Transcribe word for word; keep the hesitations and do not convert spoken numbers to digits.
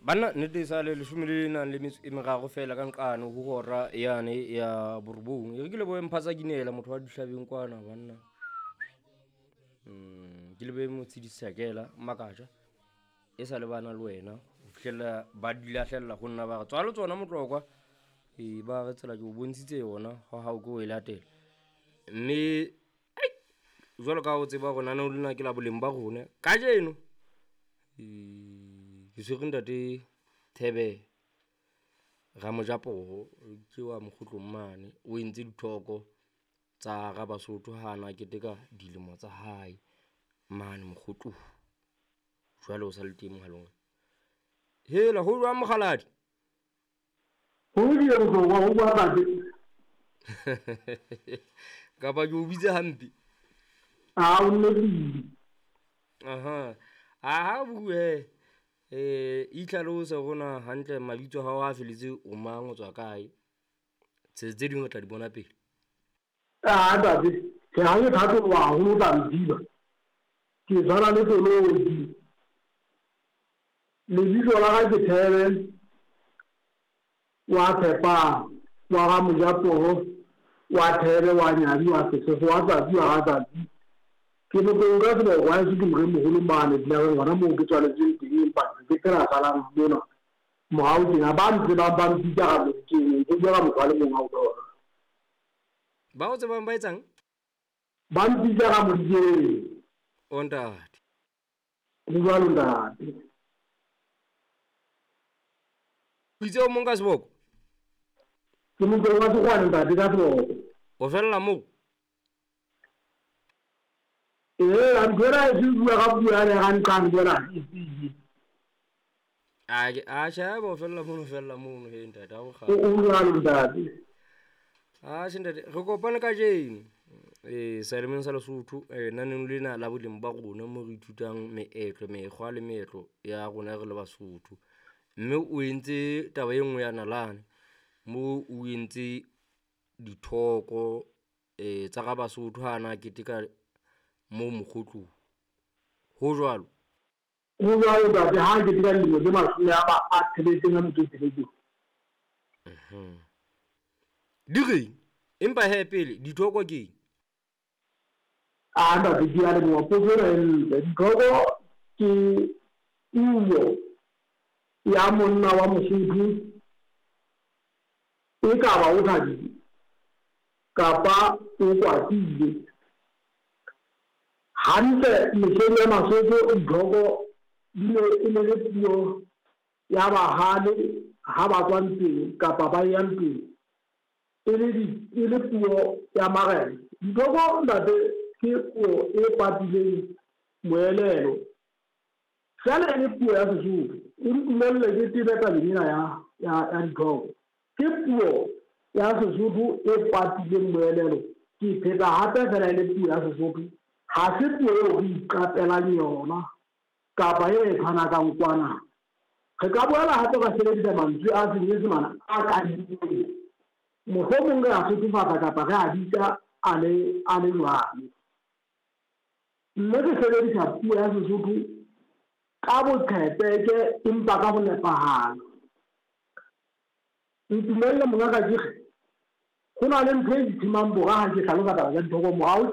Banna nnete sa le leshome le nang le metso e meraro feela ka nqane ho hora yane ya borobong. E re ke lebohe Mphatsa Kinela motho wa dihlabeng kwana banna. Mm, ke lebohe Motshidi Sakela Makaja. E sa le bana le wena ho fihlella ba di lahlella ho nna ba re tswalo tsona motlokwa. E ba re tsela ke o bontshitse yona ha hao ke o e latela. Mme ai jwalo ka ha o tseba hore lenaneo lena ke la boleng ba rona. Kajeno e ke tshwere ntate Thebe Ramojapoho ke wa Mokgotlong mane. O entse dithoko tsa hara Basotho ha na keteka dilemo tsa hae mane Mokgotlong. Jwale o sa le teng mohaleng. Hela ho jwang mokgaladi? Ho lokile Motlokwa, ho bua ntate. Kapa ke o bitse hampe? A o nnepile. Aha. Aha bue. Eh itlhalose rona hantle mabitso a hao a felletse o mang, o tswa kae? Tse tse ding re tla di bona pele. Ah ntate, ke ha ke thatoloha haholo o tla ntsiba. Ke tshwana le koloi. Lebitso la ka ke Thebe wa Tshepang, wa ga Mojapoho, wa Thebe, wa Nyadi, wa Sefefo, wa Tsatsi, wa ga Tsatsi. Ke Motlong ka seboko haeso ke moremogolo mane dinageng gona moo ke tswaletsweng teng, empa ke phela salang mona morao tjena. Ba ntsebang ba mpitsa ga Modikeng, ke bua ka motho a le mong a utlwa. Ba o tsebang ba etsang? Ba mpitsa ga Modikeng. O ntate. Ho jwalo ntate. O itse o mong ka seboko? Ke Motlong wa Sekgwane ntate ka seboko. O fella moo? Ee, ntho ena e se bua ka puo yane ya ga nqane jwana e tsile. A ke a sheba o fella mono, o fella mono he ntate, ha o O kgale. o jwalo ntate. Ah tjhe ntate, re kopane kajeno. Eh Salemeng sa Lesotho, eh naneng lena la boleng ba rona mo re ithutang meetlo, mekgwa le meetlo ya rona re le Basotho. Mme o entse taba e nngwe ya nalane mo o entse dithoko eh tsa ga Basotho ha na keteka mo Mokgotlong. Ho jwalo? Ho jwalo ntate, ha ke keteka dilemo tse mashome a ba a tsheletseng a metso e tsheletseng. Mhm. Di reng? Empa he pele dithoko ke eng? Ah ntate, ke a leboha potso ena e ntle. Dithoko ke puo ya monna wa Mosotho e ka ba o thabile kapa o kwatile. Hantle mehleng ya Basotho dithoko di ne e ne le puo ya bahale ha ba tswa ntweng kapa ba ya ntweng. E le di e le puo ya marena. Dithoko ntate ke puo e patileng moelelo. Feela e le puo ya Sesotho. O ntumelle ke tebe tabeng ena ya ya ya dithoko. Ke puo ya Sesotho e patileng moelelo. Ke pheta hape feela e le puo ya Sesotho. Ha se puo eo re iqapelang yona kapa e re tshwanakang kwana. Re ka boela hape ra sebedisa mantswe a Senyesemane a kadilweng. Mohlomong re a sothofatsa kapa re a bitsa a le a le jwalo. Mme re sebedisa puo ya Sesotho ka boqhetseke empa ka ho nepahala. Ntumelle mongaka ke re, ho na le ntho e ithimang bora ha ke hlalosa taba tsa dithoko morao.